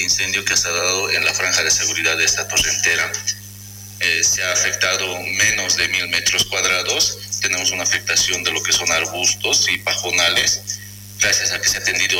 este incendio que se ha dado en la franja de seguridad de esta torrentera. Se ha afectado menos de 1.000 metros cuadrados. Tenemos una afectación de lo que son arbustos y pajonales. Gracias a que se ha atendido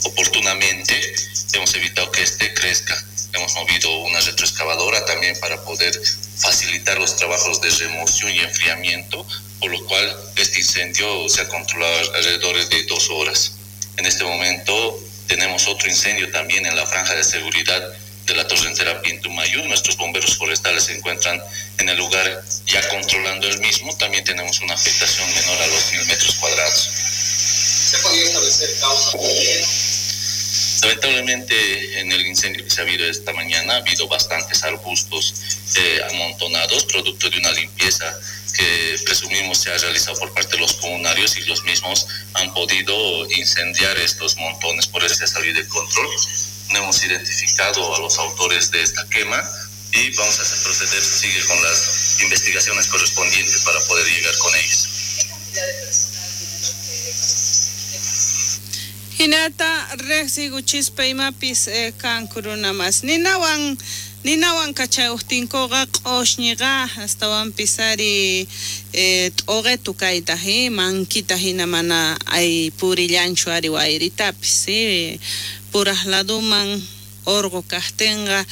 oportunamente, hemos evitado que este crezca. Hemos movido una retroexcavadora también para poder facilitar los trabajos de remoción y enfriamiento, por lo cual este incendio se ha controlado alrededor de 2 horas. En este momento tenemos otro incendio también en la franja de seguridad de la torrentera Pintumayo. Nuestros bomberos forestales se encuentran en el lugar ya controlando el mismo. También tenemos una afectación menor a los 1.000 metros cuadrados. ¿Se podía establecer causa? Lamentablemente, en el incendio que se ha habido esta mañana, ha habido bastantes arbustos amontonados, producto de una limpieza que presumimos se ha realizado por parte de los comunarios, y los mismos han podido incendiar estos montones, por eso se ha salido de control. No hemos identificado a los autores de esta quema y vamos a proceder, sigue con las investigaciones correspondientes para poder llegar con ellos. ¿Qué cantidad de personal tiene los que Hinata riqsiykuchispa imapis kanku runa mas ninawan kachayuqtinkuqa q'ushñiqa astawanpis ari t'uqitu kayta mankita hina mana ay purillanchu ari wayritapis puraq laduman urqu kaqtinqa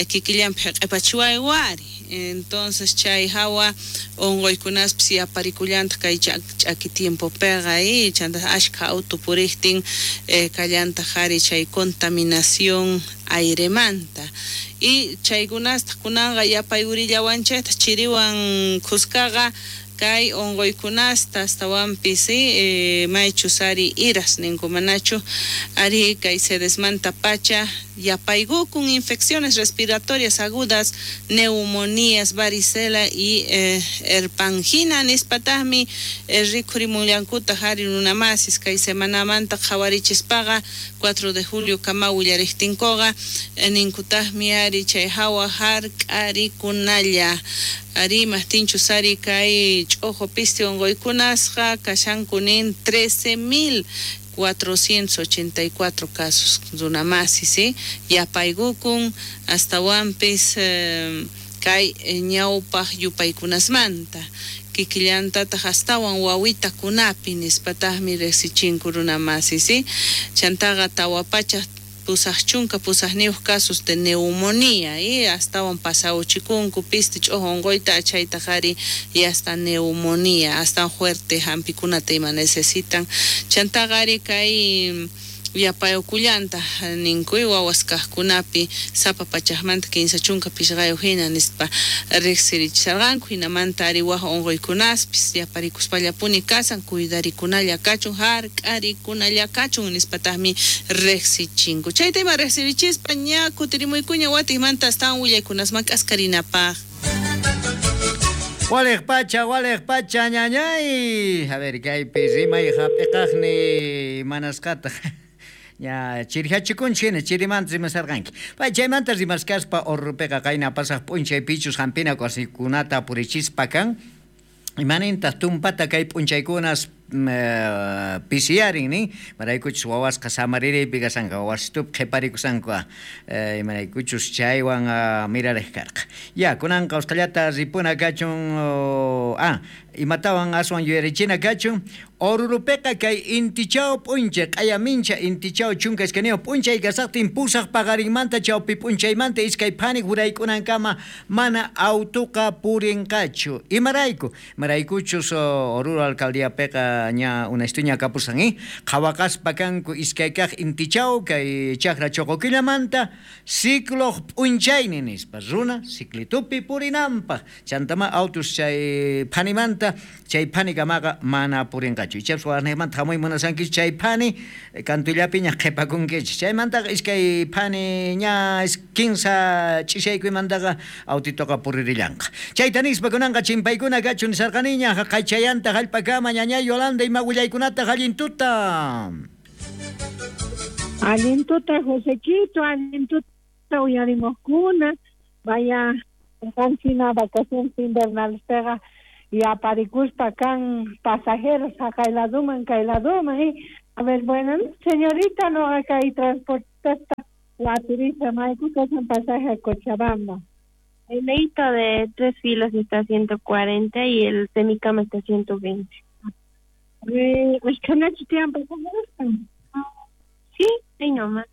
kikillanpi q'ipachiwayku ari. Entonces chay hawa unquykunaspis yaparikullantaq kay ch'aki tiempopiqa chanta ashkha auto puriqtin kallantaq ari chay contaminación airemanta y chaykunastaq kunanqa yapayurillawanchaytaq chiriwan khuskaqa kay unquykunasta astawanpis maychus ari iras ninku manachu ari kay sedesmanta pacha yapaykukun infecciones respiratorias agudas, neumonías, varicela y herpangina nispataqmi rikhurimunllankutaq ari runamasis kay semanamanta qhawarichispaqa 4 de julio kama willariqtinkuqa ninkutaqmi ari chay hawa hark'arikunalla ari maqtinchus ari kay ch'uqu pisti unquykunasqa kashanku nin 13.484 casos runamasis yapaykukun astawanpis kay ñawpaq yupaykunasmanta kikillantataq astawan wawitakunapi nispataqmi riqsichinku runamasis chantaqa 488 casos de neumonía y astawan pasawchikunku pisti ch'uqu unquyta chaytaq ari y hasta neumonía hasta fuerte hampikunata ima necesitan chantaqa ari kay yapayukullanta ninkuy wawas kaqkunapi sapa pachaqmanta 35 hina nispa riqsirichisarqanku hinamanta ari waj unquykunaspis yaparikuspallapuni kasan cuidarikunalla kachun hark'arikunalla kachun nispataqmi riqsichinku chayta ima riqsirichispa ña kutirimuykuña watiqmanta astawan willaykunasman k'askarinapaq. Waliq pacha ñañay. A ver, kaypi rimay hap'iqaqni manasqataq. Ya chirihachikunchik hina chirimanta rimasarqanki. Pay chaymanta rimaskaspa Orrupiqa qayna pasaq p'unchay pichus hampina wasikunata purichispa kan. Imanintaq tumpata kay p'unchaykunas pisiyarin nin imaraykuchus wawasqa samaririypi kasanqa wawasitupi qhiparikushanku imaraykuchus chaywan mirariq karqa. Ya kunanqa usqhayllata ripuna kachun imatawan aswan yuyarichina kachun Orurupiqa kay intichaw p'unchay q'aya mincha intichaw 12 p'unchay kasaqtin 8 paqarinmanta chawpi p'unchaymanta iskay phani huraykunankama mana autuqa purinqachu. Imarayku imaraykuchus Oruro alcaldiapiqa ña unastuña kapusan qhawaqaspa kanku iskay kaq intichaw kay chakra choqoquillamanta ciclo p'unchayni nispa runa ciclitupi purinanpaq chantama autos chay phanimanta chay phanikamaqa mana purinqachu. Ichapas warniqmanta hamuy munasankichu chay phani kantullapiña qhipakunkichik chaymantaqa iskay phani ña 15 ch'ishaykumantaqa autitoqa puririllanqa. Chayta nispa kunanqa chimpaykuna kachun nisarqaniña haqaychayanta hallp'akama ñañay Yolanda ima willaykunata allintuta. Allintuta Josequito, allintuta uyarimuqkuna vaya qanchina vacaciones invernales pega y aparikuspa kan pasajeros haqay laduman kay laduman. A ver, bueno, señorita, no kay transportista Waturista, mayku kashan pasaje a Cochabamba. El leito de 3 filas está a 140 y el semicama está a 120. ¿Ashkhanachu tiyan pasajeros? Sí, ahí nomás.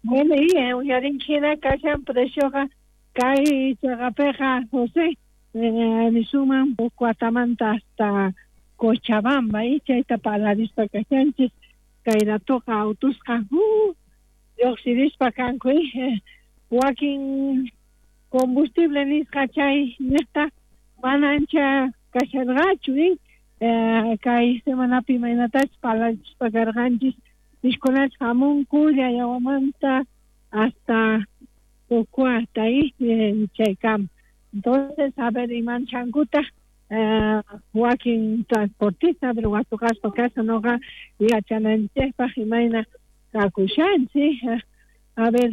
Bueno, y uyarinchina kashan precioqa kay chaqapiqa José nisuman Pocoatamanta hasta Cochabamba y chayta parlarispa kashanchis kay ratoqa autusqa lluqsirispa kanku wakin combustible nisqa chay niqta mana ancha kasharqachu kay semanapi imaynatachus parlarichispa karqanchis pishkunachus hamunku Llallawamanta hasta Pocoata y chaykama. Entonces, a ver, imanchankuta wakin transportista, pero watuqaspa kasha noqa yachananchikpaq imayna kakushanchik. A ver,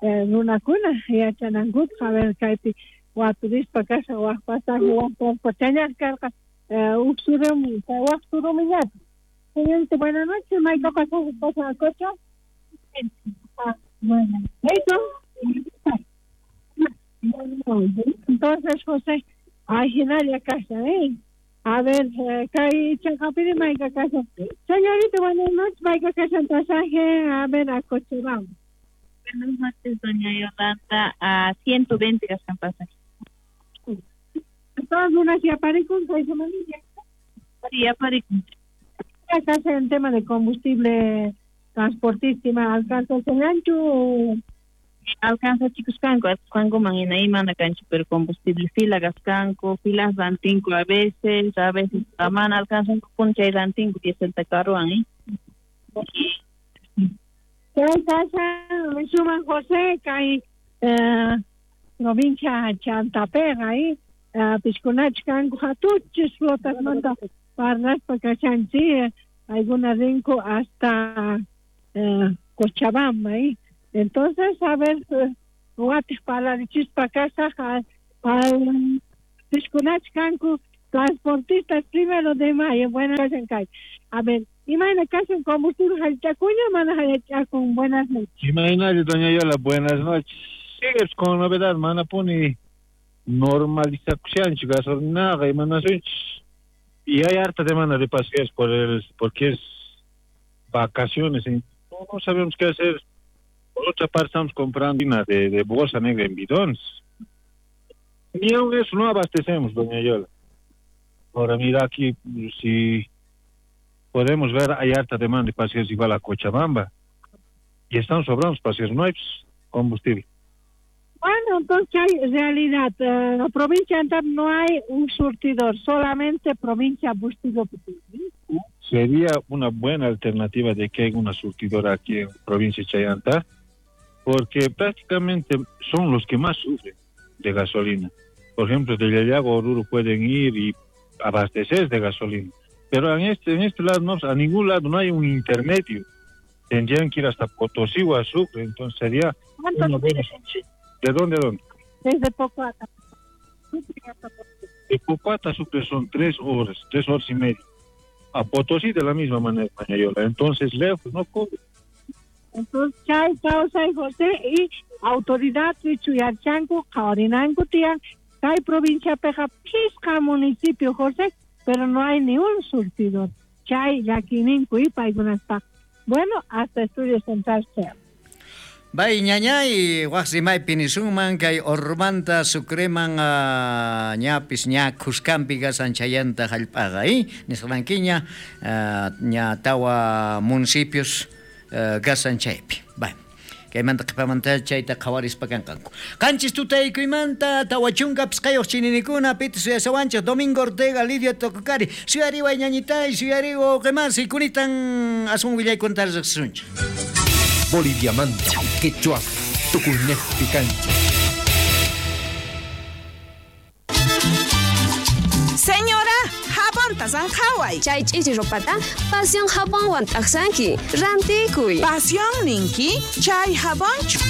runakuna yachanankupaq, a ver, kaypi waturispa kasha wak pasaje wak transporte karqa huk surumi, wak surumillapi. Señorita, buenas noches, mayka pasaje pasa a Cocha. Bueno, eso. Entonces, José, ay, hinalla kasha, A ver, kay chaqapiri mayka kasha. Señorita, buenas noches, mayka kasha pasaje, a ver, a Cochabamba. Buenas noches, doña Yolanda, a 120 gastan pasaje. Todas unas y aparecen, kay semanilla. Sí, aparecen. Acá en tema de combustible transportísima, alcanza el ancho. Alcanza chicos canco, canco mañana y mana cancho, pero combustible fila gascanco, filas dantinco a veces mana alcanzan con chay dantinco y es el tacaruan, ¿eh? Chay casa, suman José, kay provincia Chantapega, ¿eh? Pisconach canco hatuchis flotas manta parlaspa kashanchi, alguna rinco hasta Cochabamba, ¿eh? Entonces, a ver, watij parlarichispa kasaj al pisconach kanku transportistas 1 de mayo, buenas noches. A ver, imayna kashan combustible hallch'akuña mana hallch'akun, buenas noches. Imaynalla, doña Yola, buenas noches. Sigues con novedad, manapuni normalizakushanchik gasolinaqa imanasunchis. Y hay harta demanda de pasajeros porque es vacaciones, ¿eh? No sabemos qué hacer. Por otra parte, estamos comprando de bolsa negra en bidones. Ni aún eso no abastecemos, doña Yola. Ahora mira aquí, si podemos ver, hay harta demanda de pasajeros igual a Cochabamba. Y están sobrando pasajeros, no hay combustible. Bueno, entonces hay realidad. En la provincia de Antap no hay un surtidor, solamente provincia Bustillo. Sería una buena alternativa de que haya una surtidora aquí en provincia de Chayanta, porque prácticamente son los que más sufren de gasolina. Por ejemplo, de Llallago a Oruro pueden ir y abastecer de gasolina, pero en este lado no, a ningún lado no hay un intermedio. Tendrían que ir hasta Potosí o a Sucre, entonces sería una buena solución. ¿De dónde a dónde? Desde Pocoata. De Pocoata a Sucre son 3 horas, 3 horas y media. A Potosí de la misma manera, Mañayola. Entonces, lejos, no cobre. Entonces, chay, causa y José, y autoridad, Chuyarchanco, Jaorinanco, Tian, hay provincia Peja, Pisca, municipio, José, pero no hay ni un surtidor. Chay, Yaquininco y Paigunaspa. Bueno, hasta Estudio Central sea. Bay ñañay, waq rimaypi nisunman kay Ormanta Sucreman ñapis ña Cuscampi kasan chayanta hallp'aqa, nisqankiña ña tawa municipios kasan chaypi. Bay. Kaymanta qhipamanta chayta qhawarispa kanqanku. Qanchis tutaykuymanta 45 chininikuna piti suyasawanchik Domingo Ortega, Lidia Tococari, suyariway ñañitay, suyariwa uqimasi, kunitan asun willaykunta riqsisunchik. Boliviamanta, Quechua, Tucunejpi cancha. Señora, jabonta sanjaway. Chay ch'ichi ropata, pasión jabonwan t'aqsanki, rantikuy. Pasión ninki, chay jabonchu.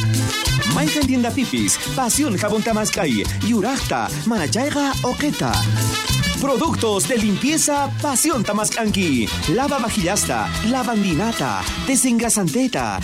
Mayqan tienda pipis, pasión jabón tamaskay, yuraqta, manachayqa oqeta. Productos de limpieza Pasión Tamascanqui. Lava vajillasta, lavandinata, desengrasanteta,